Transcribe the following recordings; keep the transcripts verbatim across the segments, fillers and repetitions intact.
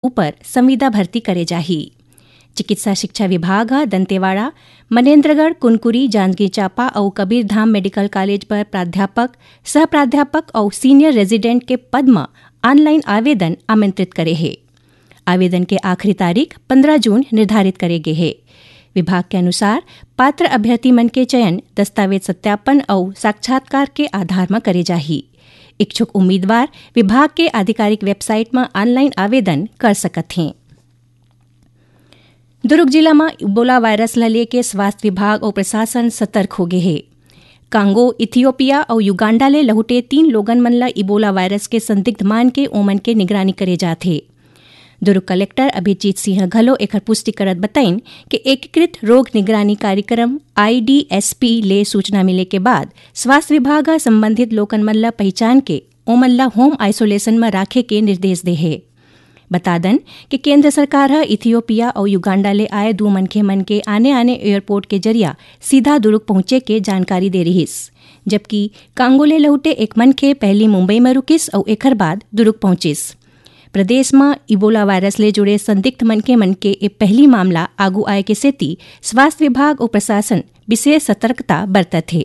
ऊपर संविदा भर्ती करे जाही। चिकित्सा शिक्षा विभाग ह दंतेवाड़ा, मनेंद्रगढ़, कुनकुरी, जांजगीर चांपा अउ कबीरधाम मेडिकल कॉलेज बर प्राध्यापक, सह प्राध्यापक अउ सीनियर रेजिडेंट के पद म ऑनलाइन आवेदन आमंत्रित करे हे। आवेदन के आखिरी तारीख पंद्रह जून निर्धारित करे गे हे। विभाग के अनुसार पात्र अभ्यर्थी मन के चयन दस्तावेज सत्यापन अउ साक्षात्कार के आधार म करे जाही। इच्छुक उम्मीदवार विभाग के आधिकारिक वेबसाइट म ऑनलाइन आवेदन कर सकत हें। दुर्ग जिला म इबोला वायरस ल लेके स्वास्थ्य विभाग अउ प्रशासन सतर्क हो गे हे। कांगो, इथियोपिया अउ युगांडा ले लहुटे तीन लोगन मन ल इबोला वायरस के संदिग्ध मान के ओमन के निगरानी करे जात हे। दुर्ग कलेक्टर अभिजीत सिंह घलो एखर पुष्टि करत बताइन कि एकीकृत रोग निगरानी कार्यक्रम आईडीएसपी ले सूचना मिले के बाद स्वास्थ्य विभाग ह संबंधित लोगन मन ल पहिचान के ओमन ल होम आइसोलेशन म राखे के निर्देश दे हे। बता दन कि केंद्र सरकार ह इथियोपिया अउ युगांडा ले आए दू मनखे मन के आने-आने एयरपोर्ट के जरिया सीधा दुर्ग पहुंचे के जानकारी दे रिहिस, जबकि कांगो ले लहुटे एक मनखे पहिली मुंबई म रुकिस अउ एखर बाद दुर्ग पहुंचिस। प्रदेश म इबोला वायरस ले जुड़े संदिग्ध मनखे मन के ए पहिली मामला आगू आए के सेती स्वास्थ्य विभाग अउ प्रशासन विशेष सतर्कता बरतत हे।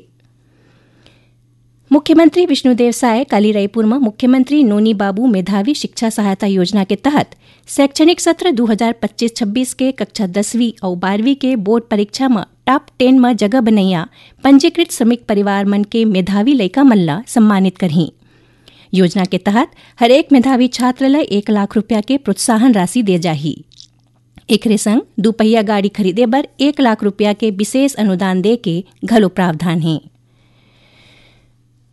मुख्यमंत्री विष्णुदेव साय काली रायपुर म मुख्यमंत्री नोनी बाबू मेधावी शिक्षा सहायता योजना के तहत शैक्षणिक सत्र दू हजार पच्चीस छब्बीस के कक्षा दसवीं अउ बारहवीं के बोर्ड परीक्षा म टॉप टेन म जगह बनैया पंजीकृत श्रमिक परिवार मन के मेधावी लइका मन ल सम्मानित करही। योजना के तहत हरेक मेधावी छात्र ल एक लाख रुपया के प्रोत्साहन राशि दे जाही। एकरे संग दुपहिया गाड़ी खरीदे बर एक लाख रुपया के विशेष अनुदान दे के घलो प्रावधान हे।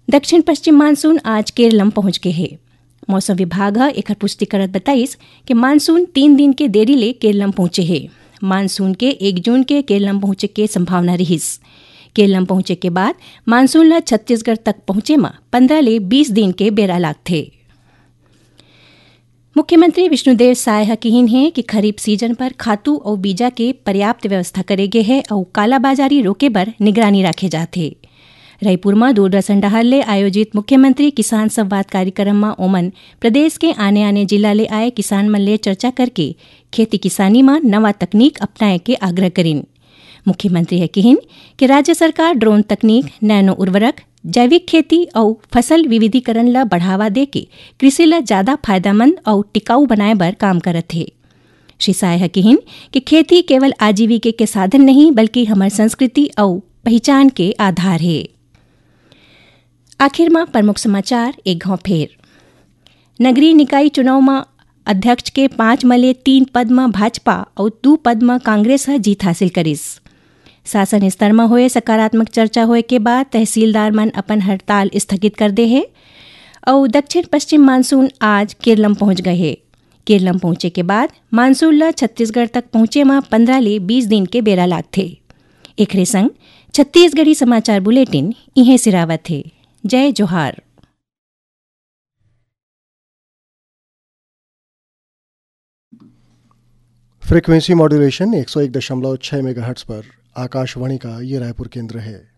दक्षिण पश्चिम मानसून आज केरलम पहुंच गे हे। मौसम विभाग ह एखर पुष्टि करत बताइस कि मानसून तीन दिन के देरी ले केरलम पहुंचे हे। मानसून के एक जून के केरलम पहुंचे के संभावना रिहिस। केरलम पहुंचे के बाद मानसून ल छत्तीसगढ़ तक पहुंचे म पंद्रह ले बीस दिन के बेरा लागथे। मुख्यमंत्री विष्णुदेव साय ह किहिन हे कि खरीफ सीजन पर खातू अउ बीजा के पर्याप्त व्यवस्था करे गे हे अउ कालाबाजारी रोके बर निगरानी राखे जात हे। रईपुर म दूरदर्शन डहार ले आयोजित मुख्यमंत्री किसान संवाद कार्यक्रम म ओमन प्रदेश के आने-आने जिला ले आए किसान मन ले चर्चा करके खेती किसानी म नवा तकनीक अपनाए के आग्रह करिन। मुख्यमंत्री ह किहिन कि राज्य सरकार ड्रोन तकनीक, नैनो उर्वरक, जैविक खेती अउ फसल विविधीकरण ल बढ़ावा देके कृषि ल ज्यादा फायदामंद अउ टिकाऊ बनाए बर काम करत हे। श्री साय ह किहिन कि खेती केवल आजीविका के साधन नहीं, बल्कि हमर संस्कृति अउ पहिचान के आधार हे। आखिर म प्रमुख समाचार एक घांव फेर। नगरीय निकाय चुनाव म अध्यक्ष के पांच म ले तीन पद म भाजपा अउ दू पद म कांग्रेस ह जीत हासिल करिस। शासन स्तर म होए सकारात्मक चर्चा होए के बाद तहसीलदार मन अपन हड़ताल स्थगित कर दे हे। अउ दक्षिण पश्चिम मानसून आज केरलम पहुंच गए हे। केरलम पहुंचे के बाद मानसून ल छत्तीसगढ़ तक पहुंचे म पंद्रह ले बीस दिन के बेरा लागथे। एखरे संग छत्तीसगढ़ी समाचार बुलेटिन इहें सिरावत हे। जय जोहार। फ्रीक्वेंसी मॉड्यूलेशन एक सौ एक दशमलव छह मेगाहर्ट्ज पर आकाशवाणी का ये रायपुर केंद्र है।